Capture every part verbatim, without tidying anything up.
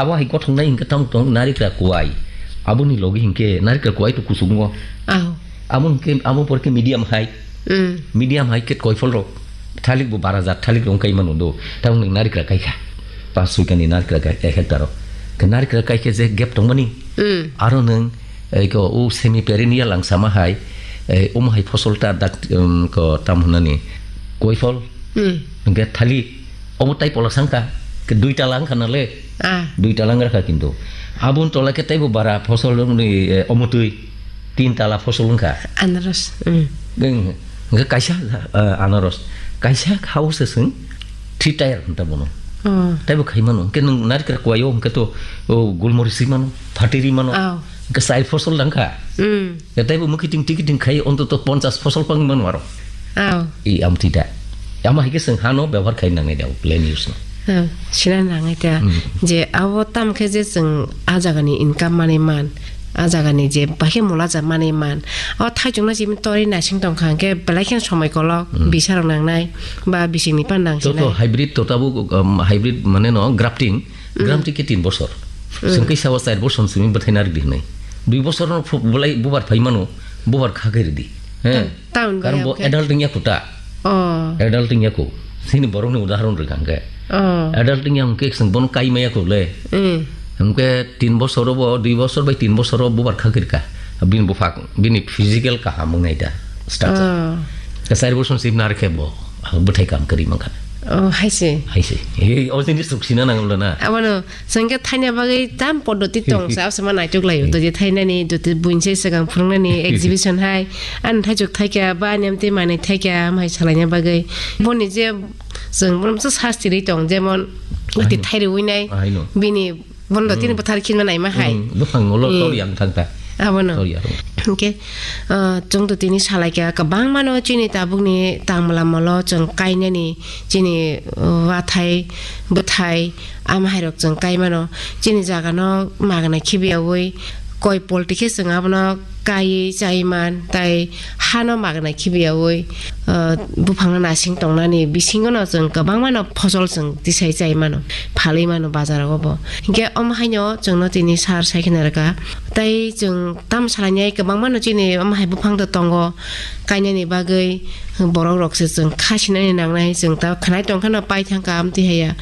Abo hai gothoknai hinkhe tamo tong narikra kuai. Aboni logi hinkhe narikra kuai to kusugo. Aho. Amo hinkhe amo porkhe medium hai. Mm. Medium hai khe koifol rok. Thalik bo bara jat thalik rong kai mano do. Tamo nwng narikra kai kha. Pas sui kani narikra kai ek hektar rok. Khe narikra kai khe je gap tongmani. Mm. Aro nwng, eh, ko u semi perennial ang sama hai, eh, omo hai fosol ta dak, um, ko tam hwnani. Koifol. Mm. Hinkhe thalik. Omo tai pola sangkha, ke dui tala wngkha na le? Ah. Dui tala wngkha kintu. Aboni tola ke taibo bara fosol wngni, eh, omo twi tin tala fosol wngkha. Anaros, mm. Wng-, wngkha kaisa, eh, anaros. Kaisa hao se swng three tier hinta bono. Oh. Taibo khai mano. Ke nwng narikra kuaio hwnkhe to, oh, gulmori si mano, phatiri mano. Oh. Hwnkhe chai fosol dangkha. Mm. Ya taibo mukiting tikiting khai ontoto ponchas fosol pang mano aro. Oh. I amtwi da. Ama hai khe chwng hano byabohar khai nangnai da, land use no. Oh, sina nangnai da. Mm. Je abo tam khe je chwng a jagani income manwi man, a jagani je bahai khe mula ja manwi man. O thaichukno simi tori nasing tong kha hwnkhe belai kheno somoi kolok, mm, bisa rok nangnai ba bisingni pan nang sinai. Joto hybrid to tabuk, um, hybrid mane no grafting, mm, grafting khe tin bosor. Mm. Chwng khe sawa char bosor simi bwthai narik di hinwi. Dui bosor no phu-, bulai bubar phai mano, bubar kha khe ridi. He. Town Karon bai bo hwnkhe adult wngya kho ta. Oh. Adult wngya kho. Sini borokni udahoron rwkha hwnkhe. Oh. Adult wngya hwnkhe chwng bono kai maya kho le. Mm. Hwnkhe tin bosoro bo, dui bosor bai tin bosoro bubar kha khe rwkha. Bini buphang, bini physical kaham wngnai da. Structure. Oh. Ka char bosor sip nar khe bo. Ang bwthai kam kwrwi mankha. Oh, hai se. Hai se. Ei, o jini suk sina nang lo na. Abono Chwng khe thaina bagwi tam poddoti tong sa, abo sama naitok laio. Hmm. Doti thainani, doti buini se swkang phwrwngnani, exhibition hai, ani thaichuk thaikha, ba ani amtwi manwi thaikha, amhai salaina bagwi. Boni je chwng bono masa sasti rwi tong, jemon, ati Aino. Thairwi nai, Aino. Bini bono dotini Hmm. Bwthar khinma naima hai. Hmm, buphang ulo Hmm. Tor yang thang ta. Abono. Tor yang. Hwnkhe, ah, chwng dotini salaikha, kwbangmano chini tabukni tangmala molo chwng kainani, chini, uh, wathai, bwthai, Amhairok chwng kai mano, chini jagano magna khibiyaui koi polti khe chwng abono kaiwi chai man, tai hano magna khibiyaui, ah, buphangno nasing tongnani bisingono chwng kwbangmano phosol chwng tisai chai mano, phalwi mano bazarogo bo. Hinkhe omo haino chwngno tini sar sai kheno rwkha. Tai chwng tamo salainai kwbangmano chini omo hai buphang do tongo. Kainani bagwi borok rok se chwng kha sinani nangnai, chwng ta khwnai tong kheno pai thang ka amtwi haya.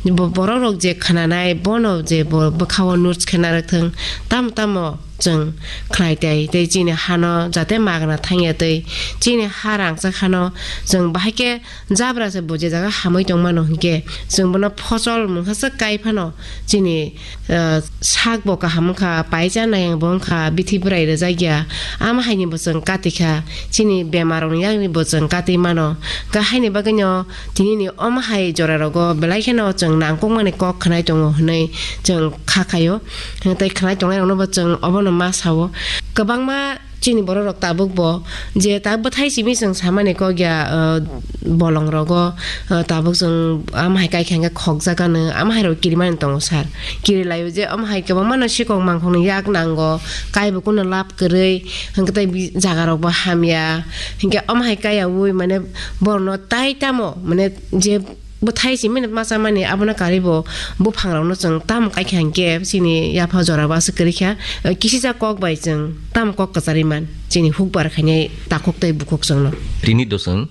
Bo-, borok rok je khwnanai bono je bo bwkhao notes khe narwk thwng, tamo tamo chwng khlai tai, tei chini hano jate magna thangya tei chini ha rangchak hano chwng bahai khe jabra se bo je jaga hamwi tong mano hinkhe chwng bono phosol mungsa se kai phano chini ah, sak bo kaham wngkha, paisa nayang bo wngkha, bithi bwrai rwjakya, ama haini bo chwng kati kha, chini bemar rokni yakni bo chwng kati mano. Khe haini bagwino tinini omo hai jora rogo belai kheno chwng nangkukmani kok khwnai tongo hwnwi chwng kha khaio. Tei khwnai tongnai rokno bo chwng obono ma sao. Kwbangma Chini borok rok tabuk bo je ta bwthai simi chwng samani kok ya, ah, bolong rogo, ah, tabuk chwng ama hai kai kha hwnkhe khokjak ano, ama hai rok kirimani tongo sir. Kiri laio je ama hai kwbangma no sikok mangkhokni yak nango, kai bo kunu lab kwrwi, hwnkhe tei bi-, jaga rok bo hamya, hwnkhe ama hai kaya ui mane borok no tai tamo mane je Bwthai simi masa mani abono karwi bo buphangrokno chwng tamo kaikha hinkhe chini yapha jora bo aswk kwrwi kha, eh, kisijak kok bai chwng tamo kok kwcharwi man chini hukbar khainai takhuk tei bukhuk chwngno. Tini do chwng,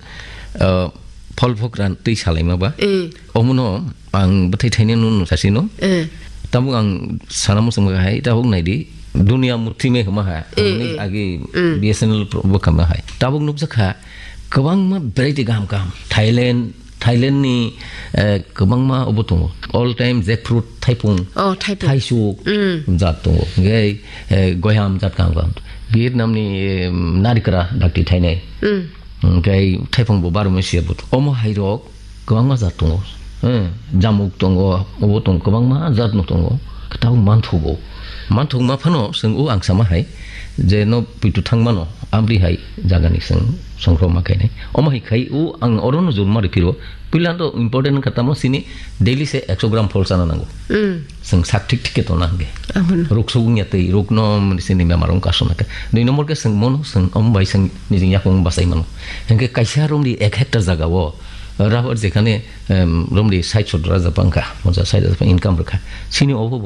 eh, phol phokra twi salaima ba. Mm. Omono ang bwthai thainai no nung sasino. Mm. Tabuk ang sana muchung hai tabuk naidi dunia murti me huma ha. Mm, Hwnwi mm. Agi Mm. B S N L pro-, bo kama hai. Tabuk nukjakha kwbangma variety kaham kaham. Thailand, Thailand ni, eh, kwbangma obo tongo. All time jackfruit, thaipung, Oh, thaipung. Thaisuk Mm. jat tongo. Hwnkhe, eh, goyam jat kaham kaham. Vietnam ni, eh, narikra dakti thainai. Mm. Hwnkhe thaipung bo baro masiya bo. Omo hai rok kwbangma jat tongo. Eh, jamuk tongo, obo tongo, kwbangma jat no tongo. Tabuk manthogo. Manthok ma phano chwng o ang sama hai je no puitu thang mano, amri hai jagani chwng songkro ma khainai. Omo hai khai o ang oro no jor ma rw phiro. Puila do important wngkha tamo chini daily se ekso gram phol chana nango. Mm. Chwng sak thik thik khe tona hwnkhe. Abono. Ruk sugungya tei ruk no mani chini bemar wngkha aswk nai khe. Dui number khe chwng mono chwng omo bai chwng nijing yakung bachai mano. Hwnkhe kaisa romdi ek hectare jaga o rubber jekhane, em, romdi sait sottor hajar bangkha, ponchas sait hajar income rwkha. Chini obo bo